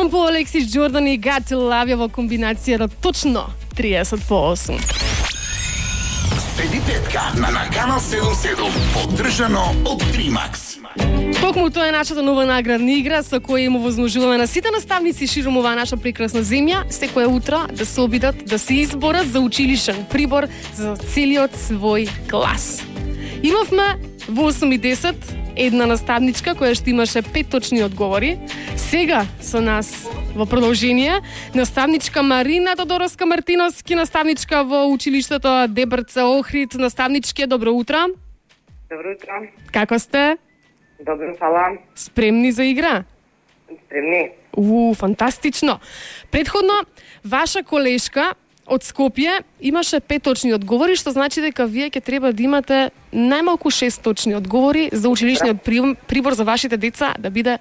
Шон Пол, Алексис Джордан и Got to Love You во комбинацијата точно 30 по 8. Следи петка на Канал 77, поддржано од Тримакс. Токму тоа е нашата нова наградна игра со која му возможуваме на сите наставници широм оваа наша прекрасна земја секое утро да се обидат да се изборат за училишен прибор за целиот свој клас. Имавме во 8:10 една наставничка која што имаше 5 точни одговори. Сега со нас во продолжение наставничка Марина Тодоровска Мартиновски, наставничка во училиштето Дебрце Охрид. Наставничке, добро утро. Добро утро. Како сте? Добро, фала. Спремни за игра? Спремни. Фантастично. Предходно, ваша колешка од Скопје имаше 5 точни одговори, што значи дека вие ќе треба да имате најмалку 6 точни одговори за училишниот прибор за вашите деца да биде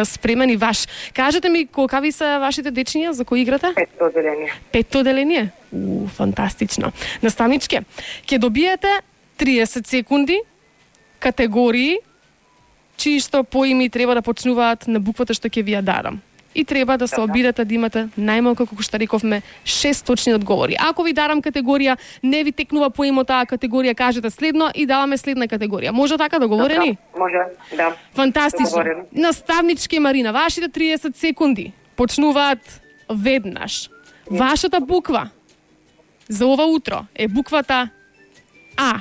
спремен и ваш. Кажете ми, колкави се вашите дечиња за кои играте? 5 оделение. 5 оделение? Фантастично. Наставничке, ќе добиете 30 секунди, категории, чии што поими треба да почнуваат на буквата што ќе ви ја дадам. И треба да се обидете да имате најмалку, како што рековме, 6 точни одговори. Ако ви дарам категорија, не ви текнува поимо таа категорија, кажете следно и даваме следна категорија. Може така договорени? Може, да. Фантастично. Наставнички Марина, вашите 30 секунди почнуваат веднаш. Вашата буква за ова утро е буквата А.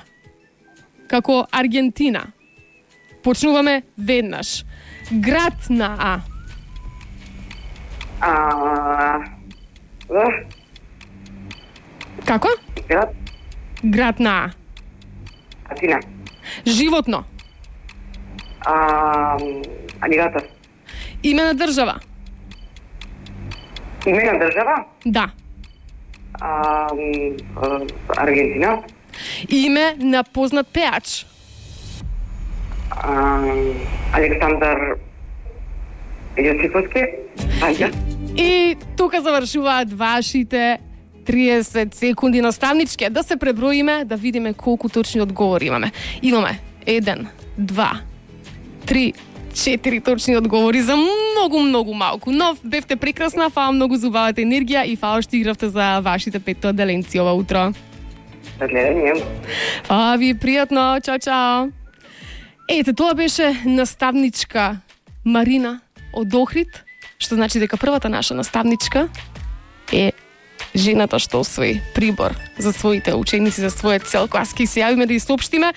Како Аргентина. Почнуваме веднаш. Град на А. Како? Град. Град на А. Атина. Животно. Алигатор. Име на држава. Име на држава? Да. Аргентина. Име на познат пеач. Александар Јосиповски. И тука завршуваат вашите 30 секунди. Наставничке, да се преброиме, да видиме колку точни одговори имаме. Имаме 1, 2, 3, 4 точни одговори за многу малку. Но бевте прекрасна, фала многу за убавата енергија и фала што игравте за вашите 5 оделенци ова утро. За гледање. Фала ви, пријатно, чао. Ете, тоа беше наставничка Марина од Охрид, што значи дека првата наша наставничка е жената што освои прибор за своите ученици, за својот цел клас. Ке се јавиме да ја соопштиме.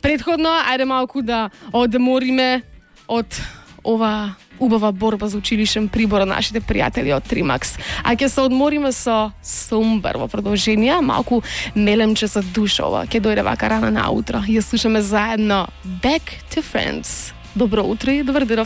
Предходно, ајде малку да одмориме од ова убава борба за училишен прибор од нашите пријатели од Тримакс. А ќе се одмориме со Сумбар во продолжение, малку мелемче за душа ова. Ќе дојде вака рано наутро. Ја слушаме заедно Back to Friends. Добро утро и добар ден.